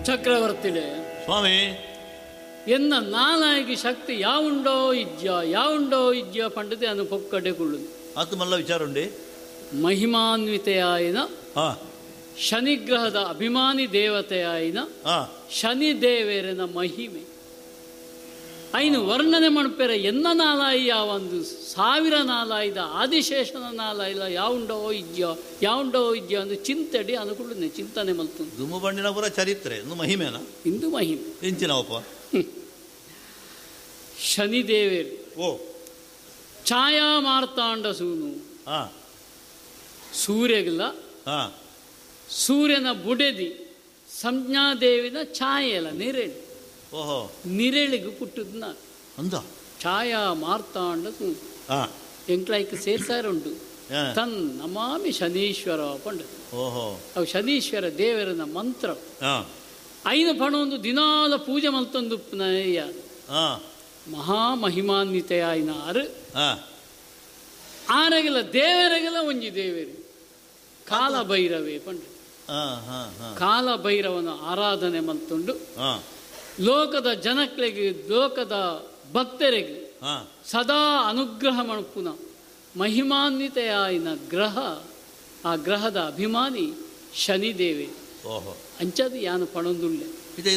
ಚಕ್ರವರ್ತಿಲೆ ಸ್ವಾಮಿ ಎನ್ನ ನಾನಾಗಿ ಶಕ್ತಿ ಯಾವುಂಡೋ ಇಜ್ಜ ಯಾವುಂಡೋ ಇಜ್ಜ ಪಂಡದೆ ಅನು ಪೊಕ್ಕಡೆ ಕುಳ್ಳುದು ಆತು ಮಲ್ಲ ವಿಚಾರ ಉಂಡೆ ಮಹಿಮಾನ್ವಿತೆಯಾಯಿನ ಶನಿಗ್ರಹದ ಅಭಿಮಾನಿ ದೇವತೆಯಾಯಿನ ಶನಿದೇವರನ ಮಹಿಮೆ ಐನು ವರ್ಣನೆ ಮಣಪೆರ ಎನ್ನ ನಾಲಾಯಿ ಯಾವೊಂದು ಸಾವಿರ ನಾಲಾಯ್ದ ಆದಿಶೇಷನ ನಾಲಾಯಿಲ್ಲ ಯಾವುಂಡೋ ಇಜ್ಜ ಯಾವುಂಡೋ ಇಜ್ಜ ಅಂದು ಚಿಂತಡಿ ಅನುಕೂಲ ಚಿಂತನೆ ಮಲ್ತು ದುಮ್ಮು ಬಂಡಿನಪುರ ಚರಿತ್ರೆ ಇಂದು ಮಹಿಮೆನ ಇಂದು ಮಹಿಮೆ ಇಂಚಿನವಪ್ಪ ಶನಿದೇವರು ಓ ಛಾಯಾ ಮಾರ್ತಾಂಡ ಸೂನು ಸೂರ್ಯಗಿಲ್ಲ ಸೂರ್ಯನ ಬುಡೆದಿ ಸಂಜ್ಞಾದೇವಿನ ಛಾಯೆಲ್ಲ ನಿರೇಳು ಓಹೋ ನಿರೇಳಿಗೆ ಪುಟ್ಟದ್ನ ಅಂದ ಛಾಯಾ ಮಾರ್ತಾಂಡ ಸೂನು ಎಂಕ್ಲಾಯ್ಕ್ ಸೇರ್ಸಾರ ಉಂಟು ತನ್ ನಮಾಮಿ ಶನೀಶ್ವರ ಪಂಡ ಓಹೋ ಅವು ಶನೀಶ್ವರ ದೇವರನ ಮಂತ್ರ ಐನ ಪಣ ಒಂದು ದಿನಾಲ ಪೂಜೆ ಮಲ್ತೊಂದು ಮಹಾಮಹಿಮಾನ್ವಿತೆಯಾಯಿನ ಆರು ಆರಗಿಲ್ಲ ದೇವರಗಿಲ್ಲ ಒಂಜಿ ದೇವರು ಕಾಲಭೈರವೇ ಪಂಡ ಕಾಲಭೈರವನ ಆರಾಧನೆ ಮಲ್ತುಂಡು ಲೋಕದ ಜನಕ್ಲೆಗೆ ಲೋಕದ ಭಕ್ತರಿಗೆ ಸದಾ ಅನುಗ್ರಹ ಮಣಪುನ ಮಹಿಮಾನ್ವಿತೆಯಾಯಿನ ಗ್ರಹ ಆ ಗ್ರಹದ ಅಭಿಮಾನಿ ಶನಿದೇವೆ ಅಂಚದು ಯಾನು ಪಣೊಂದುಳ್ಳೆ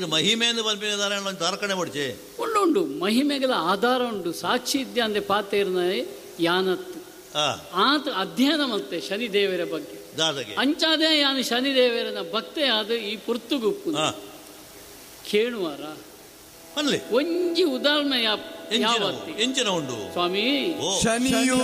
ಮಹಿಮೆಯನ್ನು ತಾರಕಣೆ ಪಡಿಚೆ ಉಂಡು ಉಂಡು ಮಹಿಮೆಗಳ ಆಧಾರ ಉಂಡು ಸಾಕ್ಷಿ ಇದ್ದೆ ಅಂದ್ರೆ ಪಾತೇರ್ನ ಯಾನತ್ತು ಆತ ಅಧ್ಯಯನ ಮತ್ತೆ ಶನಿದೇವರ ಬಗ್ಗೆ ಅಂಚಾದೇ ಯಾನು ಶನಿದೇವರನ ಭಕ್ತೆ ಆದ ಈ ಪುರ್ತುಗುಪ್ಪು ಕೇಳುವಾರ ಒಂಜಿ ಉದಾಹರಣೆ ಎಂಚಿನ ಉಂಡು ಸ್ವಾಮಿ ಶನಿಯೋ.